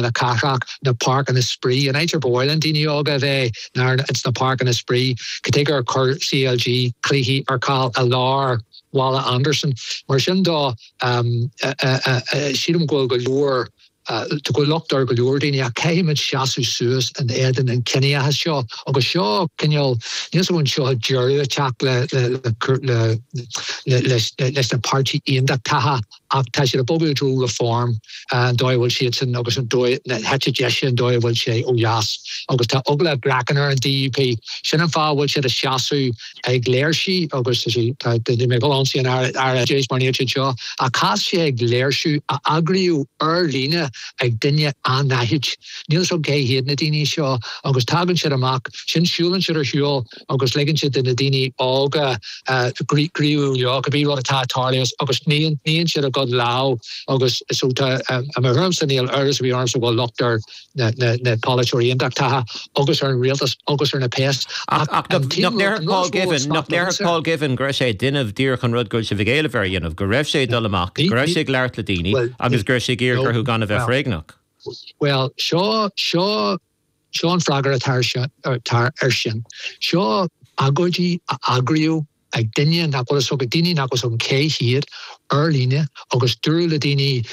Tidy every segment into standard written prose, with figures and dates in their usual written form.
Na cathrach, na páirceanna spraoi, an áit ar ba mhaith le daoine óga a bheith ná ins na páirceanna spraoi. Cad chuige ar chuir CLG cluichí ar ceal i lár Bhaile Andarsan? Mar sin de, sílim go bhfuil go leor, go bhfuil locht ar go leor daoine ach caithfimid seasamh suas in éadan an chiníochais seo agus seo cineál, níl 's agam an seo deireadh ag teacht le, le, le, leis na páirtí aontachtacha. Ach tá siad ag bogadh i dtreo Reform, an dóigh a bhfuil siadsan agus an dóigh, na heite deise, an dóigh a bhfuil sé ó dheas. Agus tá eagla a gcraicinn ar an DUP. Sin an fáth a bhfuil siad ag seasamh ag léirsiú agus tá sé, tá, níl mé ag dul a ionsaí an Aire, Aire Oideachais mar níl siad seo, ach chas sé ag léirsiú a eagraíodh ar líne ag duine anaithnid. Níl 'fhios agam cé hiad na daoine seo agus tagann siad amach, sin siúlann siad ar shiúl, agus ligeann siad do na daoine óga gníomhú leo, cibé rud atá ag tarlú agus níonn siad a gcuid lámh agus so tá, i mo thuairimse níl amhras ar bith ormsa go bhfuil locht ar na polaiteoirí aontachtacha agus ar an rialtas agus ar na péas. Ach nach ndéarfadh Paul Givan, nach ndéarfadh Paul Givan go raibh sé ag déanamh díreach an rud go bhfuil sibh ag éileamh air a dhéanamh, go raibh sé ag dul amach, go raibh sé ag labhairt le daoine agus go raibh sé ag iarraidh orthu gan a bheith foréigneach? Bhuel, seo, seo Seo an freagra atá air sin. Seo agóidí a eagraíodh ag duine nach bhfuil fhios ag daoine nach bhfuil fhios agam cé hiad, ar líne, agus dúradh le daoine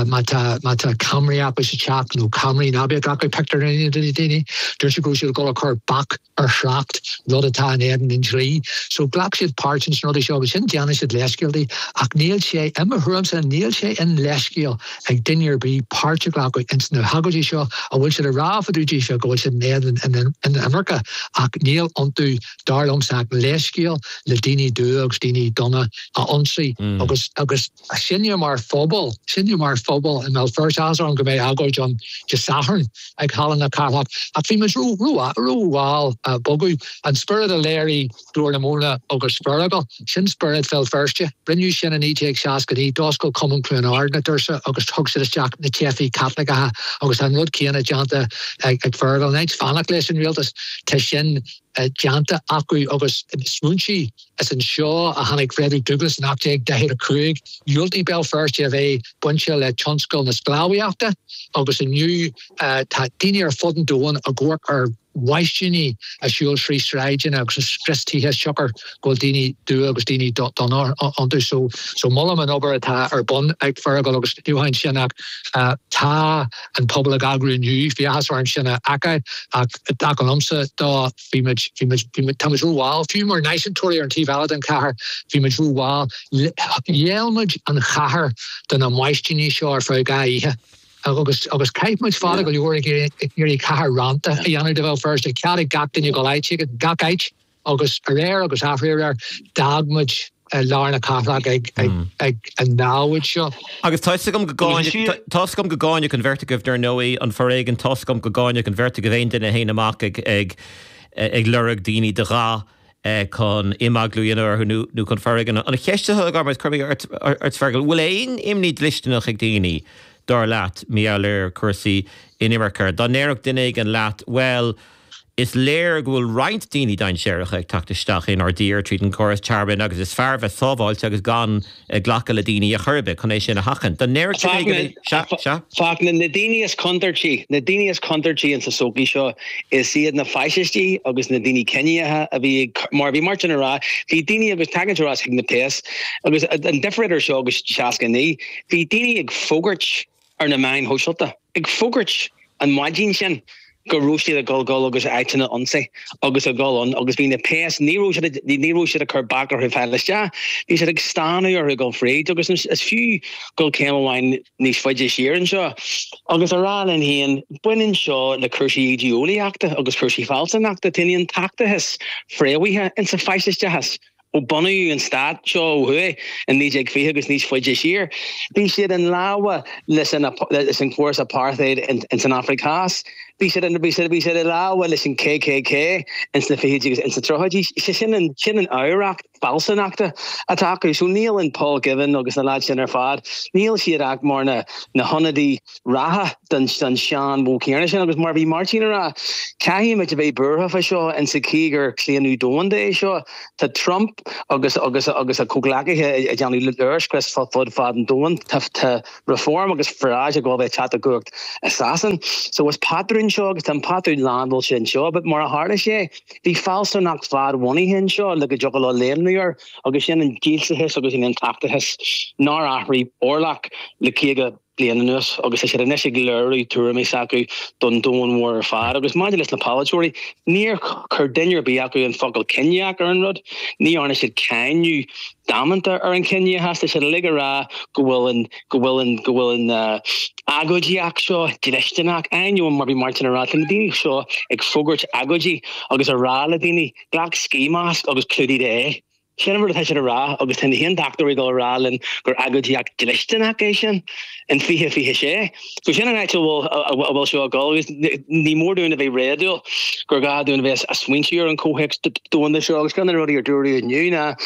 má tá má tá ceamaraí acu sa teach nó ceamaraí ná bí ag glacadh pictiúireanna de na daoine. Dúirt siad go raibh siad ag dul a chur bac ar thrácht, rud atá in éadan an dlí. So ghlac siad páirt ins na rudaí seo agus sin déanann siad leithscéaltaí ach níl sé, i mo thuairimse, níl sé ina leithscéal ag duine ar bith páirt a ghlacadh ins na hagóidí seo a bhfuil siad ag rá fá dtaobh daofa go bhfuil siad in éadan an imirce ach níl iontu dar liomsa ach leithscéal le daoine dubha agus daoine donna a ionsaí agus agus sinne mar phobal sinne mar phobal i mBéal Feirste áthas orm go mbeidh agóid ann Dé Sathairn ag Halla na Cathrach ach bhí muid ró ró rómhall a bogadh an spiorad a léirigh Glór na Móna agus Feargal. Sin spiorad Bhéal Feirste. Rinneadh sin i 1969. D'oscail Cumann Chluain Ard na doirse agus thug siad isteach na teifigh Chaitliceacha agus tá an rud céanna déanta ag Feargal. In áit fanacht leis an rialtas, tá sin déanta acu agus smaointigh, is anseo a tháinig Frederick Douglass in 1845. Dhiúltaigh Béal Feirste a bheith bainte le tionscal na sclábhaíochta agus inniu tá daoine ar fud an domhain ag amharc ar mheaisíní ag siúl trí sráideanna agus ag scrios tithe siocair go bhfuil daoine dubha agus daoine donna iontu. So, so molaim an obair atá ar bun ag Feargal agus ní amháin sin ach tá an pobal ag eagrú inniu, bhí áthas orm sin a fheiceáil ach i dtaca liomsa dó bhí muid, bhí muid, bhí muid, tá muid rómhall, fiú mar náisiúntóirí ar an taobh eile den chathair, bhí muid rómhall. Ghéill muid an chathair do na maistíní seo ar feadh 2 oíche. Agus agus chaith muid fada go leor ag iarraidh cathair rannta a dhéanamh de Bhéal Feirste, cead ag gach duine dul áit éigin, gach áit, agus aréir agus atharéir d'fhág muid lár na cathrach ag ag an namhaid seo. Agus tá 'fhios agam go gcáinfeadh, tá 'fhios agam go gcáinfeadh an bheirt agaibh dar ndóigh, an foréigean, tá 'fhios agam go gcáinfeadh an bheirt agaibh aon duine a théann amach ag ag ag lorg daoine de dhath chun imeaglú a dhéanamh orthu nó chun foréigean. An cheist atá agam ort, cuirfidh mé ort Fergal, bhfuil aon imní dlisteanach ag daoine, dar leat, mar gheall ar chúrsaí inimirce? Dá ndéarfadh duine éigin leat, bhuel, is léir go bhfuil roinnt daoine dainséaracha ag teacht isteach inár dtír tríd an gcóras tearmainn agus is fearr bheith sábháilte agus gan glacadh le daoine ar chor ar bith chun é sin a sheachaint. Dá ndéarfadh duine éigin, sea, sea. Fachtna, na daoine is contúirtí, na daoine is contúirtí insa sochaí seo, is iad na faisistí agus na daoine ciníocha a bhí ag, mar a bhí Martin ag rá, bhí daoine agus tagann sé ar ais chuig na péas agus an difear idir seo agus 69, bhí daoine ag fógairt ar na meáin shóisialta, ag fógairt an maidin sin go raibh siad ag dul dul agus áiteanna a ionsaí agus ag dul ann agus bhí na péas, ní raibh siad, ní raibh siad ag cur bac orthu fáil isteach, bhí siad ag stánadh orthu dul fríd agus is fiú dul céim amháin níos faide siar anseo agus a rá linn féin, baineann seo le cúrsaí ídé-eolaíochta agus cúrsaí fealsúnachta, tá an aontachtachas fréamhaithe insa faisisteachas. Ó bunaíodh an stát seo ó thuaidh in 1920 agus níos faide siar, bhí siad in lámha leis an córas apartheid ins an Afraic Theas. Bhí siad bhí siad bhí siad i lámha leis an KKK ins na fichidí agus ins na tríochaidí. Sé sin an sin an oidhreacht fealsúnachta atá acu. So níl in Paul Givan agus na lads sin ar fad, níl siad ach mar na na hionadaí reatha den den sean-mhodh céanna sin. Agus mar a bhí Máirtín a rá, caithfidh muid a bheith buartha fá seo insa chaoi gur claonadh domhanda é seo. Tá Trump agus agus agus a chomhghleacaithe ag déanamh léirscrios fud fad an domhain. Tá tá Reform agus Farage ag gabháil a bheith ag teacht i gcumhacht i Sasain. So is patrún seo agus tá an patrún lánmhillte anseo but mar a tharla sé bhí fealsúnacht fadbhunaithe anseo le go dtiocfadh leo léimniú air agus sin an dílseachas agus an aontachtachas nár athraigh orlach le 50 bliain anuas agus tá siad anois ag léiriú tuairimí s'acu don domhan mhór ar fad. Agus maidir leis na polaiteoirí, níor chuir duine ar bith acu an focal ciníoch ar an rud, ní dhearna siad cáineadh damanta ar an chiníochas. Tá siad uilig ag rá go bhfuil an, go bhfuil an, go bhfuil an agóidíocht seo dlisteanach. Ainneoin mar bhí Máirtín ag rá, tá na daoine seo ag fógairt agóidí agus ag rá le daoine, glac ski mask agus clúdaigh d'aghaidh. Sin an rud atá siad ag rá agus tá na haontachtóirí ag dul a rá linn gur agóidíocht dlisteanach é sin in 2026. So sin an áit a bhfuil a bhfuil seo ag dul agus ní mór dúinn a bheith réadúil gur gá dúinn a bheith ag smaointiú ar an chomhthéacs domhanda seo agus ceann de na rudaí ar dúradh inniu ná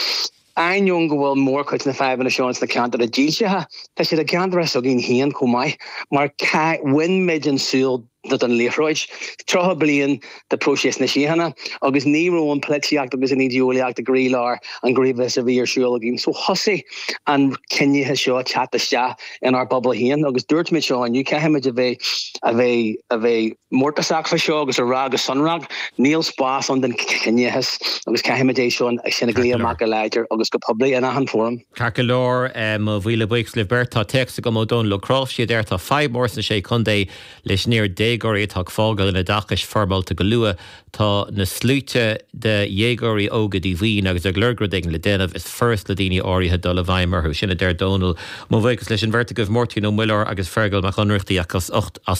ainneoin go bhfuil mórchuid na fadhbanna seo ins na ceantair dílseacha, tá siad i gceantair s'againn féin chomh maith mar bhain muid an súil den liathróid. 30 bliain de próiseas na síochána agus ní raibh an polaitíocht agus an ídeolaíocht i gcroílár an ghníomhachais a bhí ar siúl againn. So thosaigh an ciníochas seo ag teacht isteach inár bpobal féin agus dúirt muid seo inniu, caithfimid a bheith a bheith a bheith mórtasach fá seo agus a rá go sonrach, níl spás ann don chiníochas agus caithfimid é seo sin a ghlaoch amach go láidir agus go poiblí in achan fóram. Ceart go leor, mo mhíle buíochas libh beirt. Tá téacs agam ó Dónal Ó Cnáimhsí a deir tá fadhb mór sna Sé Chontae leis an oiread déagóirí atá ag fágáil an oideachais foirmeálta go luath. Tá na sluaite de dhéagóirí óga díomhaoin agus ag lorg rud éigin le déanamh. Is furast le daoine áirithe dul i bhfeidhm orthu. Sin a deir Dónal. Mo bhuíochas leis an bheirt agaibh, Máirtín Ó Muilleoir agus Fergal Mac Ionnrachtaigh, as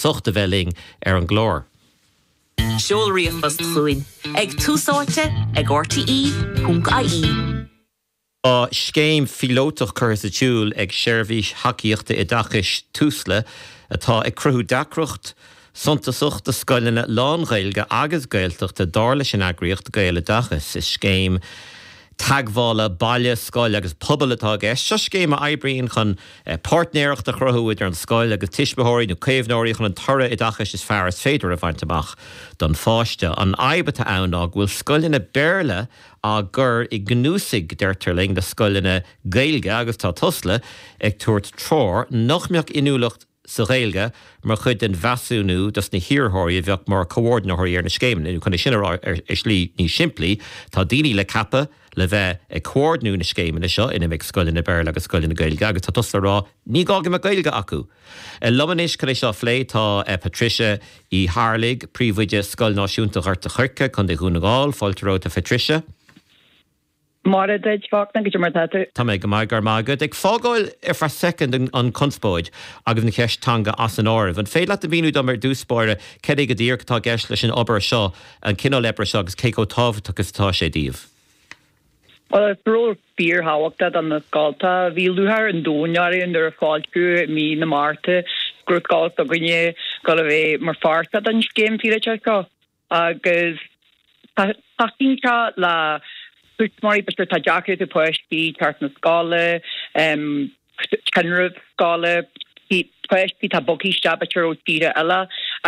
ucht a bheith linn ar an gclár. Seol ríomhphost chugainn ag túsáite ag rte.ie. Tá scéim phíolótach curtha sa tsiúl ag seirbhís thacaíochta oideachais Tusla atá ag cruthú deacracht suntasach do scoileanna lán-Ghaeilge agus Gaeltachta, dar leis an eagraíocht Gaeloideachas. Is scéim teagmhála baile, scoil agus pobal atá i gceist. Seo scéim a oibríonn chun páirtnéireacht a chruthú idir an scoil agus tuismitheoirí nó caomhnóirí chun an toradh oideachais is fearr is féidir a bhaint amach don pháiste. An fhadhb atá ann ná go bhfuil scoileanna Béarla á gcur i gcnuasaigh, deirtear linn, le scoileanna Gaeilge agus tá Tusla ag tabhairt treoir nach mbeadh inniúlacht sa Ghaeilge mar chuid den mheasúnú dos na hiarrthóirí a bheadh mar chomhordaitheoirí ar na scéimeanna. Nó chun é sin a rá ar shlí níos simplí, tá daoine le ceapadh le bheith ag comhordnú na scéimeanna seo ina mbeidh scoileanna Béarla agus scoileanna Gaeilge agus tá Tusla ag rá ní gá go mbeadh Gaeilge acu. Liom anois chun é seo a phlé tá Patricia Uí Tharlaigh, Príomhoide Scoil Náisiúnta Ghort a' Choirce, Contae Dhún na nGall. Fáilte romhat a Phatricia. Maire duit, Fachtna, goidé mar atá tú? Tá mé go maith, go raibh maith agat. Ag fágáil ar feadh soicind an chonspóid agus an cheist teanga as an áireamh, an féidir leat a mhíniú dom ar dtús báire cad é go díreach atá i gceist leis an obair seo, an cineál oibre seo agus cé chomh tábhachtach is atá sé daoibh? Bhuel, is ról fíorthábhachtach do na scoltacha. Bhí lúcháir an domhain orainn nuair a foilsíodh i mí na Márta go raibh scoil s'againne ag dul a bheith mar pháirt den scéim phíolótach seo agus tacaíonn sé le tuismitheoirí, b'fhéidir atá deacrachtaí páistí teacht na scoile, tinreamh scoile, páistí atá bogtha isteach b'fhéidir ó tíortha eile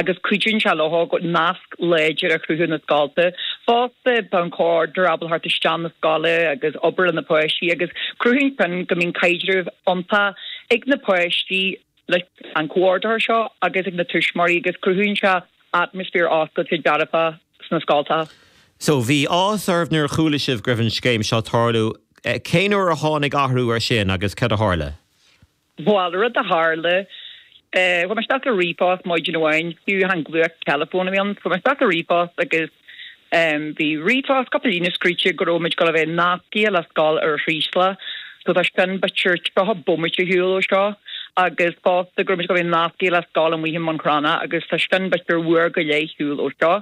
agus cuidíonn sé leo go nasc láidir a chruthú na scolta. Fosta tá an comhordaitheoir ábalta theacht isteach na scoile agus obair le na páistí agus cruthaíonn sin go mbíonn caidreamh iontach ag na páistí leis an comhordaitheoir seo agus ag na tuismitheoirí agus cruthaíonn sé atmaisféar oscailte dearfach sna scoltacha. So, bhí áthas oraibh nuair a chuala sibh go raibh an scéim seo ag tarlú. Cén uair a tháinig athrú ar sin agus cad a tharla? Bhuel, rud a tharla, chuaigh mé isteach le ríomhphost maidin amháin, fiú chan glaoch teileafóin a bhí ann, chuaigh mé isteach le ríomhphost agus bhí ríomhphost, cúpla líne scríte go raibh muid ag dul a bheith nascaithe le scoil ar Chraoslach, so tá sin b'fhéidir 30 bomaite ar shiúl ó seo, agus fosta go raibh muid ag dul a bheith nascaithe le scoil amuigh i mBun Cranncha agus tá sin b'fhéidir uair go leith ar shiúl ó seo.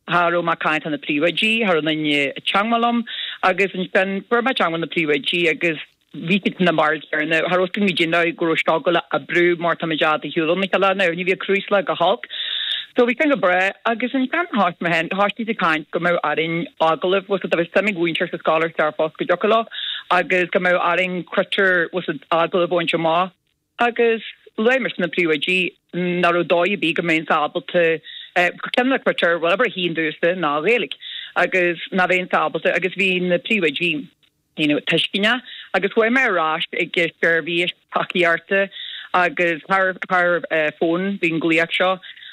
Cha raibh mé ag caint le na príomhoidí, cha raibh aon duine ag teangmháil liom agus ansin fuair mé teangmháil na príomhoidí agus bhí siad ina mbarúil chéanna, cha raibh fhios againn go dtí go raibh seo ag dul a oibriú mar tá muid i bhfad ar shiúl óna chéile now, ní bhíodh Craoslach go holc. So bhí sin go breá agus ansin thoisigh mé féin, thoisigh siad ag caint go mbeadh orainn agallamh, bhfuil 's a'd, dá mbeadh suim ag mhúinteoir sa scoil ar dearfach go dtiocfadh leo agus go mbeadh orainn critéir, bhfuil 's a'd, agallamh a bhaint amach. Agus luaigh mise na príomhoidí nach raibh dóigh ar bith go mbeinnse ábalta, ceann de na critéir, bhuel, uimhir a haon domhsa ná Gaeilge agus nach mbeinnse ábalta agus bhí na príomhoidí, you know, tuisceanach agus chuaigh mé ar ais ag seirbhís tacaíochta agus thar thar fón bhí an glaoch seo.